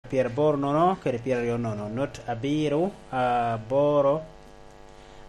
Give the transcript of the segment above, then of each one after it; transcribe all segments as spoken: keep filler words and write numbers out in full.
pyeraboro nono kede pyeraryo nono, not abiro, aboro,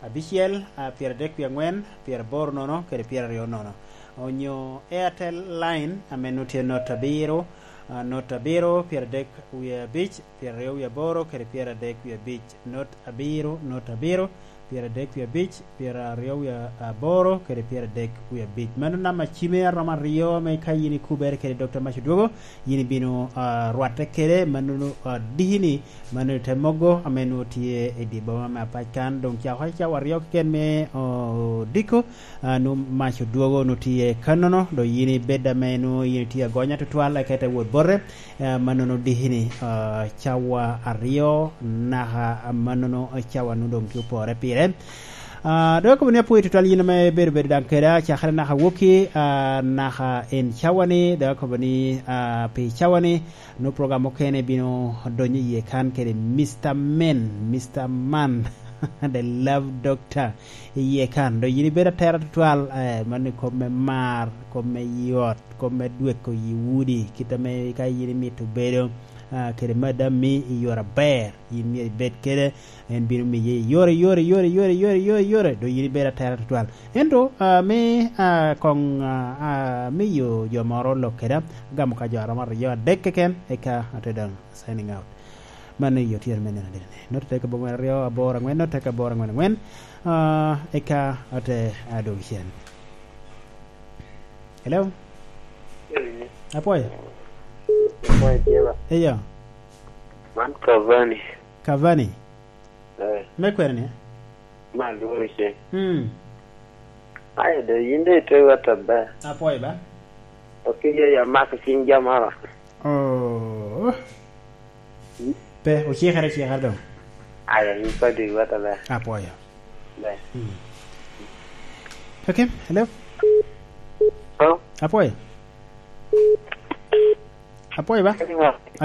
abicel, a, pyeradek wie angwen, pyeraboro nono kede pyeraryo nono. Onyo Airtel Line, ame nwoŋo tye not abiro, a, not abiro, pyeradek wie abic, pyeraryo wie aboro kede pyeradek wie abic, not abiro, not abiro, pyeradek wie abic, pyeraryo wie aboro kede pyeradek wie abic. Mano namba cime aromo aryo ame ka yin ikubere kede Dokta Mac Odwogo, yin ibino, a, rwatte kede, mano, a, diki-ni, mano te mogo ame nwoŋo tye i dye boma me apac kan. Doŋ cako cawa aryo keken me, o, odiko, a, nwoŋo Mac Odwogo nwoŋo tye kannono, doŋ yin ibed ame nwoŋo yin itye agonya tutwal, eka ite wot bote, a, mannono diki-ni, a, cawa aryo naka mannono cawa nwoŋo doŋ tye opore pire. A, doŋ akobo ni apwoyo tutwal yin ame ibedo bedo daŋ keda, cakere naka wokki, a, naka en cawa-ni, doŋ akobo ni, a, pi cawa-ni, nwoŋo program mukene bino donyo iye kan kede Mister Men, Mister Man, the Love Doctor, iye kan. Doŋ yin ibedo atera tutwal, eh, mano i kop me mar, kop me yot, kop me dweko yi udi, kit ame ka yin imito bedo, ah, kede madam-mi i yore aber, yin myero ibed kede, en bino miye yore, yore, yore, yore, yore, yore, yore, doŋ yin ibedo atera tutwal. Ento, ah, me, ah, koŋ, ah, ah, miyo jo moro lok keda, agamo ka jo aromo aryo adek keken, eka ate doŋ signing out. Mano i otyeno me nino adit-ni. Note tek abongwen aryo, aboro angwen, note tek aboro angwen angwen. Ah, eka ate adwogo cen. Hello? Apwoyo. Apwoyo tye ba? Eyo. Man Cavani. Cavani? Eh. Me kwene ni? Ma lworo cen. Hmm. Aye do yin do ite wot aber. Apwoyo ba? Ok iye ya mako cing jamara. Oh. Pe, ocikere, ocikere doŋ. Aya, yin kodi iwot aber. Apwoyo. Ber. Mm. Okay, hello? Hello? Apwoyo. Apwoyo ba? Hello?